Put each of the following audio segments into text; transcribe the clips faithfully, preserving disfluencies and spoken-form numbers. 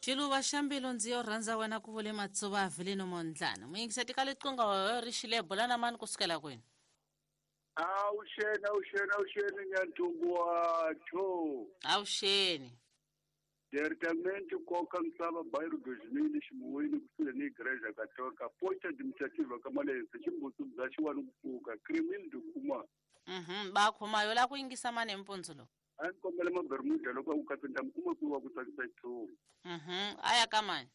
Xiluva xa mbilu ndzi yo rhandza wena ku vule Matsuva Avelino Mondlana. Muyingiseti ka liqingo ri xile bula na mani kusukela kwini? Awuxeni, awuxeni, awuxeni Nyanthungu wa two. Awuxeni. Diretamente koka misava bairro dois mil ximuwini kusuhi ni igreja católica posta administrativa ka Malense ximbutsu bya xiwani ku pfuka criminal de kuma. Mhm, ba khoma yo la ku yingisa mani mpundzu lowu. A ni kombela mabermuda loko a ku katsa ni ta mi kuma kwihi wa ku tsakisa xitshungu. Mhm, a ya ka mani?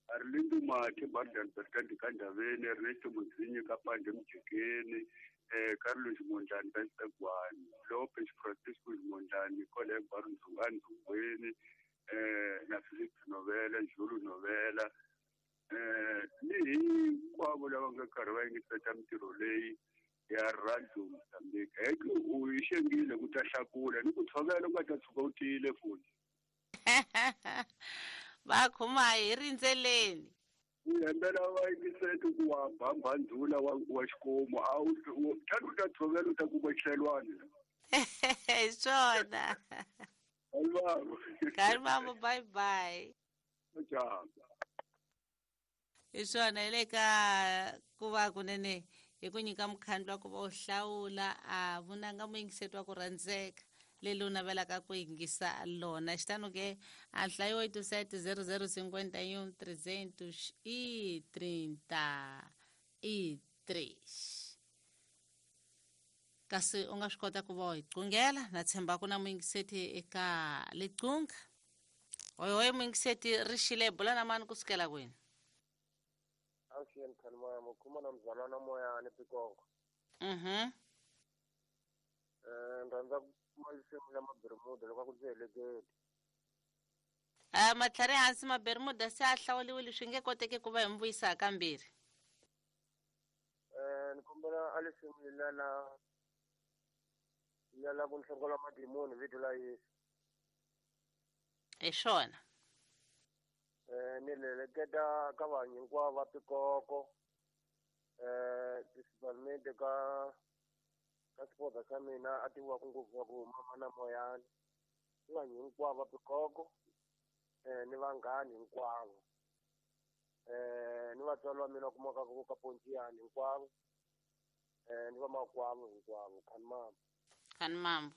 Arlindo Mathe Bardan Bertandi ka Ndaveni, Ernesto Muzinyi ka Pande Mjekeni, eh Carlos Mondlane ka Xitagwani, Lopez Francisco Mondlane kwale Barundzungani Ndzungweni, eh na Philip Novela, Julu Novela, eh ni hinkwavo lava nga karhi va yingiseta mintirho leyi ya Radio Mozambique. Heke u yi xengile ku ta hlakula ni ku tshovela u nga ta tshuka u tiyile futhi. Va khoma hi rindzeleni. U hembela va yingiseti ku wa bamba ndzula wa wa xikomu a wu tlhela u ta tshovela u ta kuma xilelwana. Hi swona. Alvaro. Kalmamo, bye bye. Ciao. Hi swona hi le ka ku va kunene hi ku nyika mukhandlu wa ku va u hlawula a vunanga muyingiseti wa ku rhandzeka leli u navelaka ku yingisa lona. Xitano ke a nhlayo oito sete zero zero cinquenta e um trezentos e trinta e três. Kasi u nga swi kota ku va u hi qungela na tshemba ku na muyingiseti eka liqunga. Oyoyo muyingiseti ri xile bula na mani kusukela kwini? Awuxeni Khalimoya, mukhuma na mzalwana Moyani Pikongo. Mhm. Eh rhandza ku kuma risimu la Mabermuda loko ku ndzi heleketi. Ah, matlhari hansi Mabermuda se a hlawuliwile swi nge koteki ku va hi mi vuyisa kambirhi. Eh ni kombela a risimu la la la la ku nhlongola madimoni vito la Yesu. Hi swona. Eh ni leleketa ka vanhu hinkwavo va Pikoko, eh principalmente ka ka xipota xa mina a tiviwaka ngopfu wa ku mama na Moyani. Ni vanhu hinkwavo va Pikoko, eh ni vanghani hinkwavo, eh ni vatswari va mina kumaka ku ka Pontiani hinkwavo, eh ni vamakwavo hinkwavo. Khanimambo. Khanimambo.